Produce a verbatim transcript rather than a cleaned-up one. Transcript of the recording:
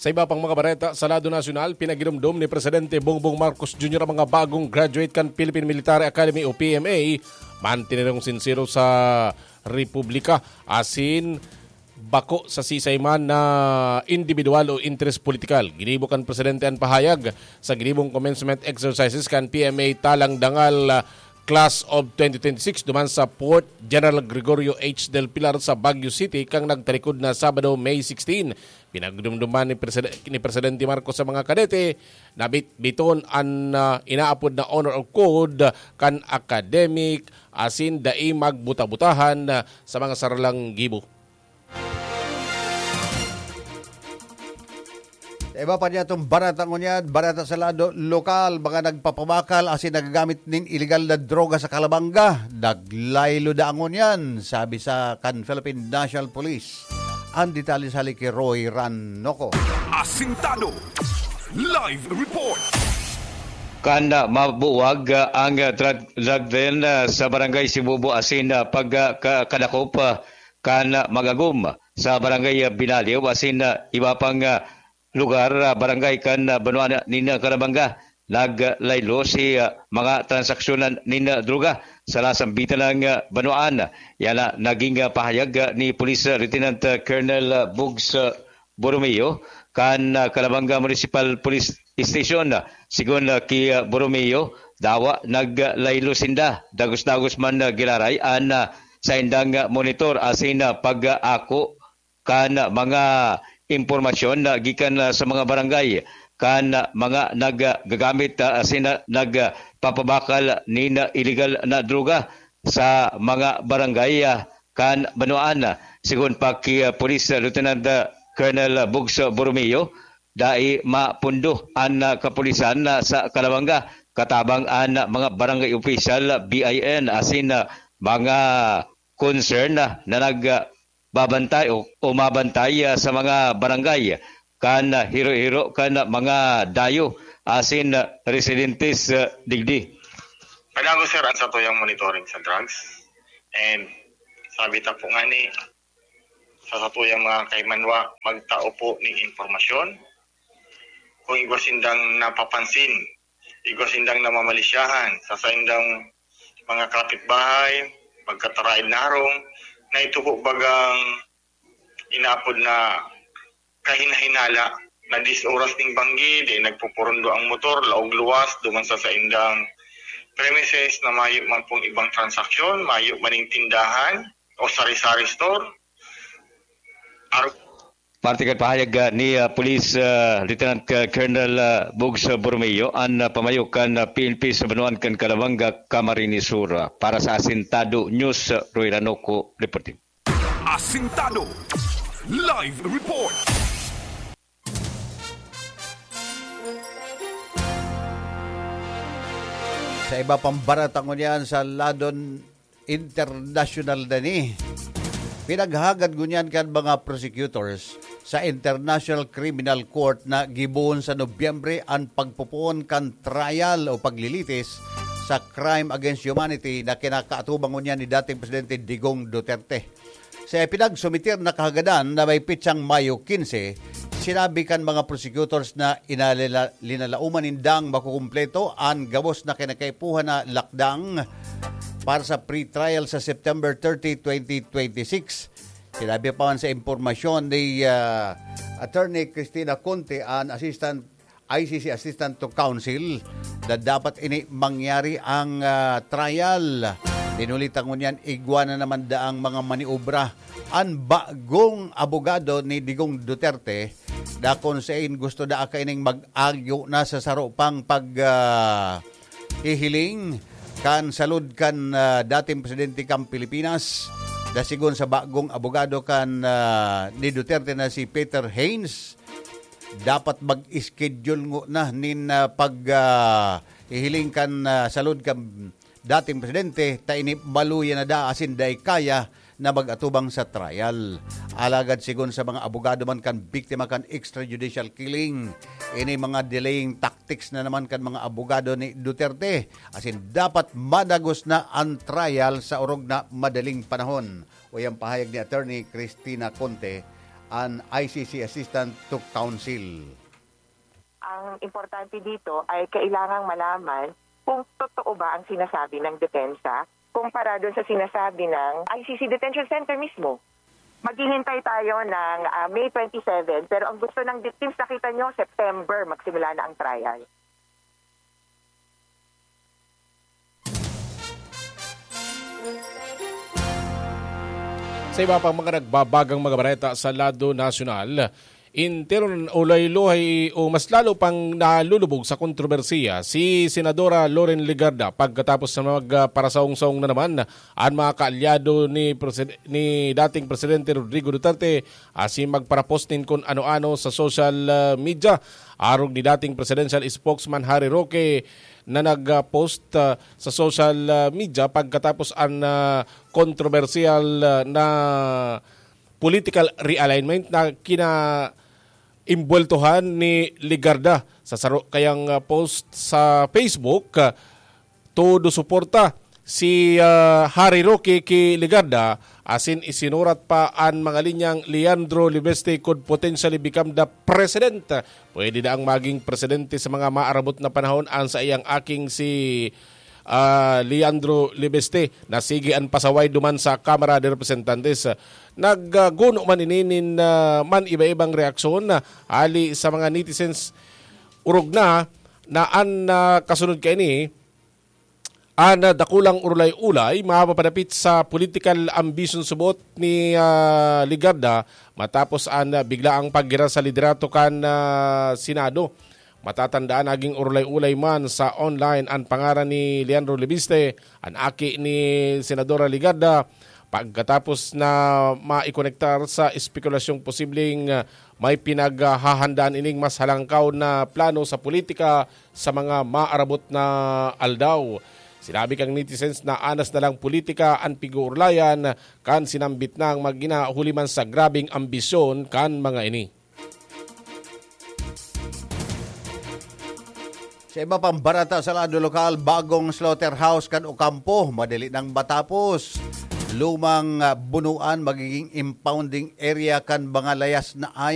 Sa iba pang mga bareta sa lado nasyonal, pinagirumdom ni Presidente Bongbong Marcos Junior ang mga bagong graduate kan Philippine Military Academy o P M A. Mantinerong sinsero sa Republika, asin bako sa sisay man na individual o interes politikal. Ginibo kan Presidente an pahayag sa ginibong commencement exercises kan P M A Talang Dangal, ah, Class of twenty twenty-six duman sa Port General Gregorio H. Del Pilar sa Baguio City kan nagtalikod na Sabado, May sixteen. Pinagdumduman ni Preside-, ni Presidente Marcos sa mga kadete na bit-, biton an, ah, inaapod na honor code kan academic asin dai magbuta-butahan, ah, sa mga saralang gibo. Sa iba pa niya itong barata ngunyan, barata sa lado lokal, mga nagpapabakal asin nagagamit nin iligal na droga sa Calabanga, naglaylo da ngunyan, sabi sa kan Philippine National Police. Ang detalye sa hali ki Roy Ranoco. Asintado. Live report. Kan, ah, mabuwag, ah, ang, ah, drug, drug den, ah, sa Barangay Sibubo asin, ah, pag, ah, ka-, kadakop, ah, kan, ah, mag-agom sa Barangay, ah, Binaliw asin, ah, iba pang, ah, lugar, ah, barangay kan, ah, banwaan nin, ah, Calabanga. Naglaylo si, ah, mga transaksyonan nin, ah, droga sa lasang bitanang, ah, banwaan. Yan na naging, ah, pahayag, ah, ni Police, ah, Lieutenant, ah, Colonel, ah, Bugs, ah, Borromeo kan, ah, Calabanga Municipal Police Station. Sigon, ah, ki, ah, Borromeo, dawa naglaylo sinda. Dagos-dagos man, ah, giraray an, ah, saindang, ah, monitor asin, ah, pag-aako kan mga impormasyon na gikan, ah, sa mga barangay kan, ah, mga naggagamit, ah, asin, ah, nagpapabakal nin iligal na droga sa mga barangay, ah, kan banwaan. Sigon pa ki, ah, Police Lieutenant, ah, Colonel Bugs Borromeo, dai mapundo an, ah, kapulisan, ah, sa Calabanga katabang an, ah, mga barangay official, ah, B I N, asin, ah, mga concern na, na nag, ah, babantay o, o mabantay, ah, sa mga barangay kan, ah, hiro-hiro kan, ah, mga dayo asin, ah, residentes, ah, digdi. Padagos, sir, ang satuyang monitoring sa drugs. And sabi ta po nga ni, sa satuyang mga kaimanwa, magtao po ning impormasyon. Kung igwa sindang napapansin, igwa sindang namamalisyahan sa saindang mga kapitbahay, pagkataraid na harong, na ito po bagang inapod na kahinahinala na dis oras ning banggi, di nagpupurundo ang motor, laog luwas, duman sa saindang premises na mayo man pong ibang transaksyon, mayo maning tindahan o sari-sari store. Ar- Parte kan pahayag, ah, ni, ah, Police, ah, Lieutenant, ah, Colonel, ah, Bugs, ah, Borromeo, an, ah, pamayo kan, ah, P N P sa banwaan kan Calabanga, Camarines Sur. Ah, para sa Asintado News, ah, Roy Ranoco, reporting. Asintado. Live report. Sa iba pang barata ngunyan sa ladon internasyonal na ni, pinaghagad ngunyan kan mga prosecutors sa International Criminal Court na gibohon sa Nobyembre an pagpopoon kan trial o paglilitis sa crime against humanity na kinakaatubang ngunyan ni dating Presidente Digong Duterte. Sa ipinagsumitir na kahagadan na may pitsang Mayo quince, sinabi kan mga prosecutors na inalila-, linalauman nindang makukumpleto an gabos na kinakaipuhan na lakdang para sa pre-trial sa September thirty, twenty twenty-six. Sinabi pa man sa impormasyon ni, ah, Attorney Christina Conte, an Assistant I C C Assistant to Counsel, na dapat ini mangyari ang, ah, trial. Dinulit ta ngunyan, igwa na naman daang mga maniobra an bagong abogado ni Digong Duterte, dakon sain gusto da kaining mag-agyo na sa saro pang pag, ah, hihiling kan salud kan, ah, dating presidente kan Pilipinas, da sigon sa bagong abogado kan, ah, ni Duterte na si Peter Haynes. Dapat mag-schedule ngona nin, ah, pag, ah, hihiling kan, ah, salud kan dating presidente, ta ini maluya na da asin dai kaya na mag-atubang sa trial. Alagad sigon sa mga abogado man kan biktima kan extrajudicial killing, ini mga delaying tactics na naman kan mga abogado ni Duterte, asin dapat madagos na an trial sa orog na madaling panahon. Uya an pahayag ni Attorney Christina Conte, an I C C Assistant to Counsel. Ang importante dito ay kailangang malaman kung totoo ba ang sinasabi ng depensa kumpara doon sa sinasabi ng I C C Detention Center mismo. Maghihintay tayo ng, ah, May twenty-seven, pero ang gusto ng victims, nakita nyo, September, magsimula na ang trial. Sa iba pang mga nagbabagang mga bareta sa lado nasyonal, interon o laylohay o mas lalo pang nalulubog sa kontrobersiya si Senadora Loren Legarda pagkatapos na magparasaong-saong na naman an mga kaalyado ni Preside-, ni dating Presidente Rodrigo Duterte asin magparapost nin kun ano-ano sa social, ah, media. Arog ni dating presidential spokesman Harry Roque na nag-post, ah, sa social, ah, media pagkatapos an, ah, kontrobersyal, ah, na political realignment na kinaimbweltohan ni Legarda. Sa saro kayang, ah, post sa Facebook, ah, todo suporta si, ah, Harry Roque ki Legarda, asin isinurat pa an mga linyang, "Leandro Leviste could potentially become the president." Pwede na ang maging presidente sa mga maarabot na panahon an saiyang aking si, ah, Leandro Leviste, na sige an pasaway duman sa Kamara de Representantes. Nagguno man ini nin, ah, man iba-ibang reaksyon, ah, hali sa mga netizens. Orog na, na an, ah, kasunod kaini, an, ah, dakulang urulay-ulay mapapadapit sa political ambition subot ni, ah, Legarda matapos an, ah, biglaang paggira sa liderato kan, ah, Senado. Matatandaan, naging urulay-ulay man sa online an pangaran ni Leandro Leviste, an aki ni Senadora Legarda, pagkatapos na maikonektar sa espekulasyong posibleng, ah, may pinaghahandaan ining mas halangkaw na plano sa politika sa mga maarabot na aldaw. Sinabi kan netizens na anas na lang politika an pig-uurlayan kan sinambit nang mag-ina huli man sa grabeng ambisyon kan mga ini. Sa iba pang bareta sa lado lokal, bagong slaughterhouse kan Ocampo, madali nang matapos. Lumang, ah, bunuan, magiging impounding area kan mga layas na